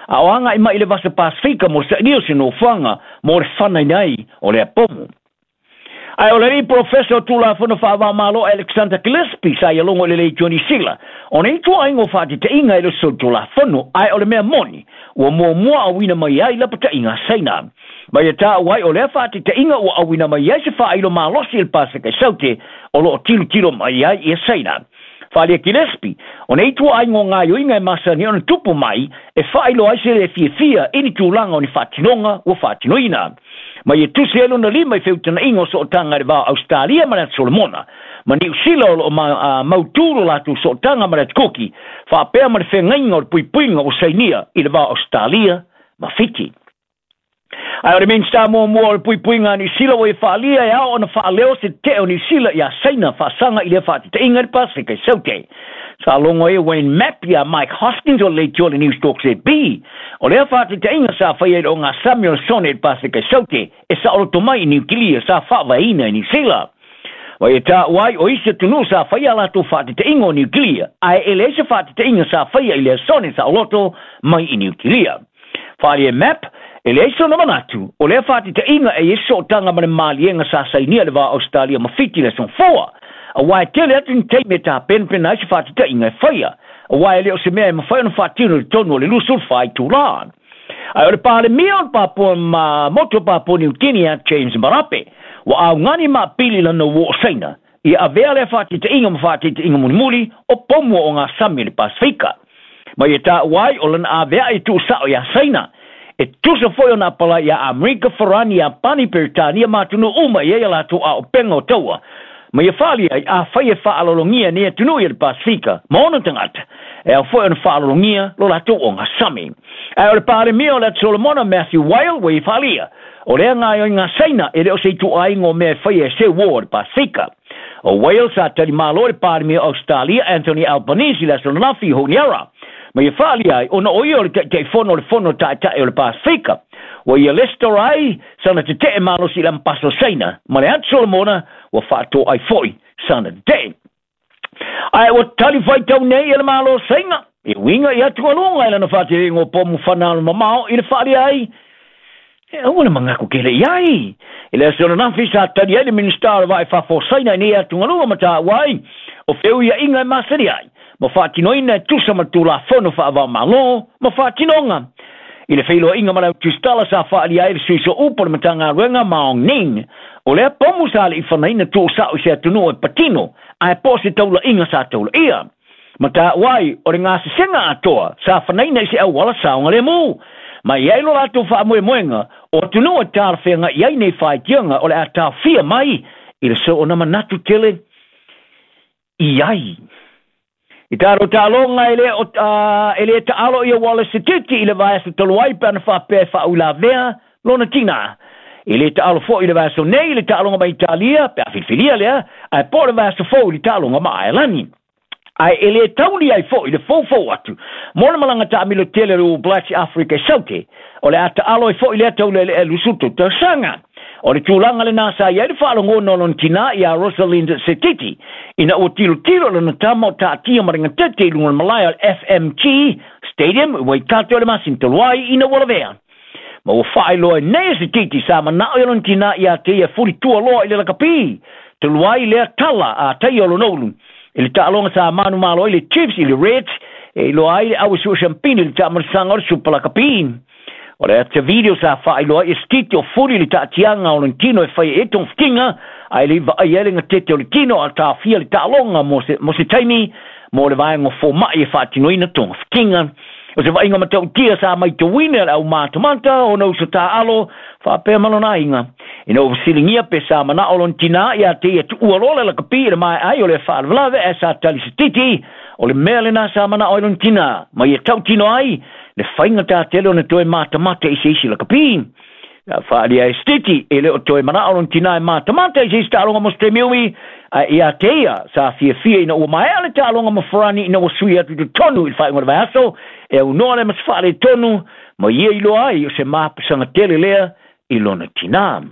A o agaʻi mai i le Vasa Pasefika mo le sailia o se nofoaga mo le fanaina ai o lea pomu. Ae o le alii polofesa o Tulafono Faava-o-Malo Alexander Gillespie sa ia logo i le Leitio Niu Sila, o nei ituaiga o faataitaiga e le o se solitulafono, ae o le mea moni, ua muamua auina mai ai lapataiga a Saina. Ma ia taua ai o lea faataitaiga ua auina mai ai se faailo malosi i le Pasefika i Saute o lo o tilotilo mai ai ia Saina. Faaalia Gillespie, o nei ituaiga o gaoioiga e masani ona tupu mai e faailoa ai se le fiafia i ni tulaga o ni faatinoga ua faatinoina. Ma ia tusi ai lona lima i feutagaiga o sootaga i le va o Ausetalia ma le Atu Solomona, ma Niu Sila o lo o mautū lo latou sootaga ma le Atu Kuki, faapea ma le feagaiga o le puipuiga ua sainia i le va o Ausetalia ma Fiti. Ae o le Minisita muamua o le puipuiga a Niu Sila ua ia faaalia e ao ona faaleo se tetee o Niu Sila iā Saina faasaga i lea faataitaiga i le Pasefika i Saute. Sa logo ai e Wayne Mapp iā Mike Hoskins o le leitio a le Newstalk ZB. O lea faataitaiga sa faia i le ogasami o le sone i le Pasefika i Saute e saoloto mai i Niu Kilia sa faavaeina e Niu Sila. Ma ia taua ai o isi atunuu sa faia a latou faataitaiga o Niu Kilia, ae e leai se faataitaiga sa faia i lea sone saoloto mai i Niu Kilia. Faaalia e Mapp, e leai sona manatu, o lea faataitaiga e i ai se sootaga ma le maliega sa sainia i le va o Ausetalia ma Fiti i le Aso Gafua, aua e tele atu ni taimi e tapenapena ai se faataitaiga e faia, aua e le o se mea e mafai ona faatino i totonu o le 24 itulā. Ae o le Palemia o le Papua ma Motu o Papua Niu Kini James Marape, ua augani ma apili i lana uō o Saina, ia avea lea faataitaiga ma faataitaiga mulimuli o pomu o ogasami o le Pasefika. Ma ia taua ai o lana aveaʻe i tuusao iā Saina, e tusa foi ona apalai iā Amerika, Farani, Iapani, Peretania ma atunuu uma i ai a latou aopenga o taua. Ma ia faaalia ai, afai e faalologia nei atunuu ia le Pasefika ma ona tagata, e ao foi ona faalologia lo latou ogasami. Ae o le Palemia o le Atu Solomona, Matthew Wyle, ua ia faaalia, o lea gaoioiga a Saina e le o se ituaiga o mea e faia e se uō o le Pasefika. O Wales sa tali malo i le Palemia o Ausetalia Anthony Albanese i le aso ananafi i Honiara, ma ia faaalia ai ona o ia o le Taitaifono o le Fono Taetae o le Pasefika. Ua ia lesitala ai sana tetee malosi i le Ambasa o Saina ma le Atu Solomona ua faatoai foi sana tetee. Ae ua tali faitau nei e le Malo o Saina e uiga i atugaluga i lana faateleina o pomu fanalomamao i le faaalia ai e aua le mangaku kele i ai. I le aso ananafi sa tali ai le Minisita o le Vaa i Fafo o Saina i nei atugaluga ma taua ai o feuiaiga e masani ai ma faatinoina e tusa ma le Tulafono Faava-o-Malo ma faatinoga. I le feiloaiga ma le au tusitala sa faaalia ai le sui sooupu o le Matagaluega Mao Ning, o lea pomu sa le i fanaina tuusao i se atunuu e patino ae po o se taulaiga sa taulaia. Ma taua ai o le gasesega atoa sa fanaina i se auala saogalemu. Ma i ai lo latou faamoemoega o atunuu e talafeagai ai nei faitioga o le a taofia mai i le soona manatu tele i ai. I tatou taaloga e le o e le taalo ia Wallace Sititi i le vaiaso talu ai pe ana faapea e faauilavea lona tina. E le taalo foi i le vaiaso nei i le taaloga ma Italia pe a filifilia lea, ae po o le vaiaso fou i le taaloga ma Aelani. Ae e le tauli ai foi le foufou atu mo le malaga taamilo tele a le All Blacks i Afrika i Saute, o le a taalo ai foi lea taulealea e 23 tausaga. O le tulaga lenā sa i ai le faalogona o lona tinā iā Rosalind Setiti, ina ua tilotilo lona tama o taatia ma le gatete i luga o le malae o le FMG Stadium i Waikato i le masina talu ai ina ua lavea. Ma ua faailoa ai nei e Setiti sa manao i lona tinā iā te ia fuli tua loa i le lakapi talu ai lea tala a taia o lona ulu i le taaloga sa manumalo ai le Chiefs i le Reds e iloa ai le aue suesampini i le taamalisaga o le Super Lakapi. O le ata video sa faailoa ai e Setiti o fuli le taatiaga o lona tino e fai e togafitiga, ae le i vaai ai le gatete o le tino a taofia le taaloga mo se, mo se taimi mo le vaega o fomai e faatinoina togafitiga. O se vaaiga matautia sa maitauina e le aumatamata ona uso taaalo faapea ma lona aiga. Ina ua fesiligia pe sa manao lona tinā iā te ia tuua loa le lakapi i le maea ai o lea faalavelave ae sa tali Setiti, o le mea lenā sa manao ai lona tinā, ma ia tautino ai le faigata tele ona toe matamata i se isi lakapi. Ia faaalia e Setiti, e le o toe manao lona tinā e matamata i se isi taaloga mo se taimi umi, ae iā te ia sa fiafia ina ua maea le taaloga ma Farani ina ua sui atu i totonu i le faaiuga o le vaiaso, e aunoa lea ma se faaletonu, ma ia iloa ai o se mapusaga tele lea i lona tinā.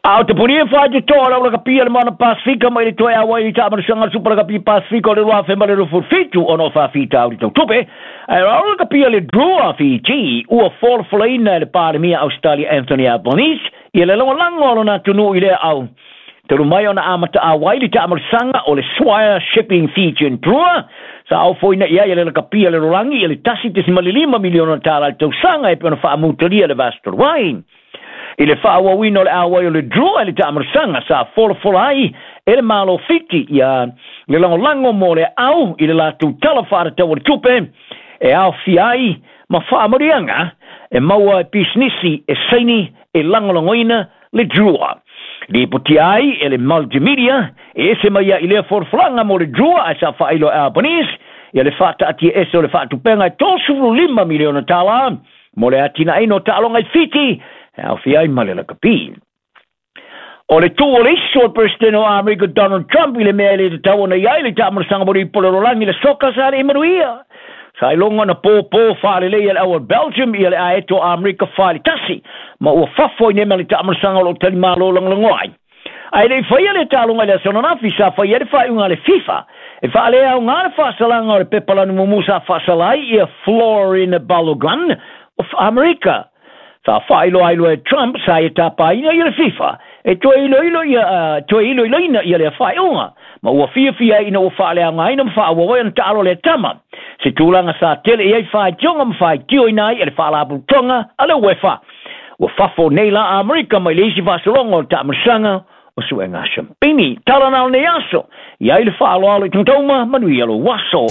A o te punia whaitotoa le aulakapia le Moana Pasifika mai le toe auai i taamalosaga o le Supa Lakapi Pasifika o le 2027 ona o faafitauli tau tupe, ae o le aulakapia le Drua Fiji ua folafolaina e le Palemia Ausetalia Anthony Albanese ia le lagolago a lona atunuu i lea au talu mai ona amata auai le taamalosaga o le Swire Shipping Fijian Drua sa ofoina i ai e le lakapia le lalolagi i le $1.5 miliona tala i le tausaga e pei ona faamutalia le vaiaso talu ai. I le faaauauina o le auai o le Drua i le taamalosaga sa folafola ai e le Malo Fiti ia le lagolago mo le au i le latou tala faatatau o le tupe e aofia ai ma faamanuiaga e maua e pisinisi e saini e lagolagoina le Drua. Lipotia ai e le Multimedia e ese mai ai i lea folafolaga mo le Drua ae sa faailoa e Albanese ia le faataatia ese o le faatupega e $35 miliona tala mo le atinaeina o taaloga i Fiti e aofia ai ma le lakapi. O le tuu o le iso o le Peresetene o Amerika Donald Trump i le mea e le tatau ona i ai le taamalosaga mo le ipu o le lalolagi le soka sa le i manuia. Sa iloga ona pōpō faalelei e le au o Belgium ia le aeto o Amerika 4-1 ma ua fafo i nei ma le taamalosaga o lo o talimalo lagolago ai. Ae le i faia le taaloga i le aso ananafi sa faia ai le faaiuga a le FIFA e faaleaoga le faasalaga o le pepa lanu mumu sa faasala ai ia Florin Balogun of Amerika. Sa faailoa ai loa e Trump sa ia tapaina ia le FIFA e toe iloilo ia toe iloiloina ia lea faaiuga ma ua fiafia ai ina ua faaleaogaina ma faaauau ai ona taalo lea tama. Se tulaga sa tele i ai faitioga ma faitioina ai e le Faalapotopotoga a le UEFA. Ua fafo nei la a Amerika mai le isi faasologa o le taamalosaga o suega siampini. Tala na o lenei aso, i ai le faaaloalo i tagata uma, manuia lou aso.